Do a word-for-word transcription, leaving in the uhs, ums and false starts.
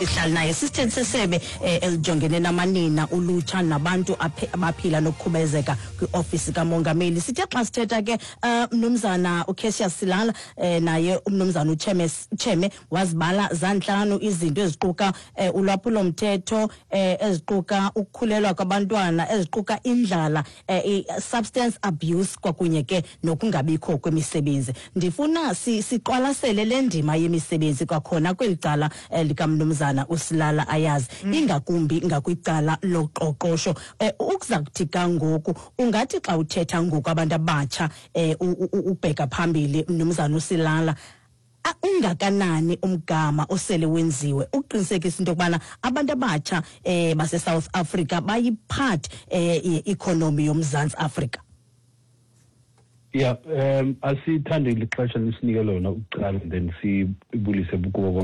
Ihlali naye sisithethi sesebe eh, elijongene namanina, ulutsha nabantu aphe- abaphila nokukhubazeka kwiofisi kamongameli. Sithe xa sithetha ke, uh, mnumzana uCassius Silala, eh, naye umnumzana uCheme Cheme wazibala zantlanu izinto eziquka eh, ulwaphulomthetho, eh, eziquka ukukhulelwa kwabantwana, eziquka indlala, eh, i-substance abuse, kwakunye ke nokungabikho kwemisebenzi. Ndifuna si- siqwalasele le ndima yemisebenzi kwakhona kweli cala eh, likamnumzana uSilala, ayazi ingakumbi ngakwicala loqoqosho. eh, ukuza kuthi kangoku, ungathi xa uthetha ngoku abantu abatsha, eh, u- u- ubheka phambili, mnumzana uSilala, a- ungakanani umgama osele wenziwe ukuqinisekisa into yokubana abantu abatsha eh base-South Africa bayi-part eh ye-economy yoMzantsi Afrika? Yeah, um asithande lixesha nisinike lona ukuqala, then sibulise kubo.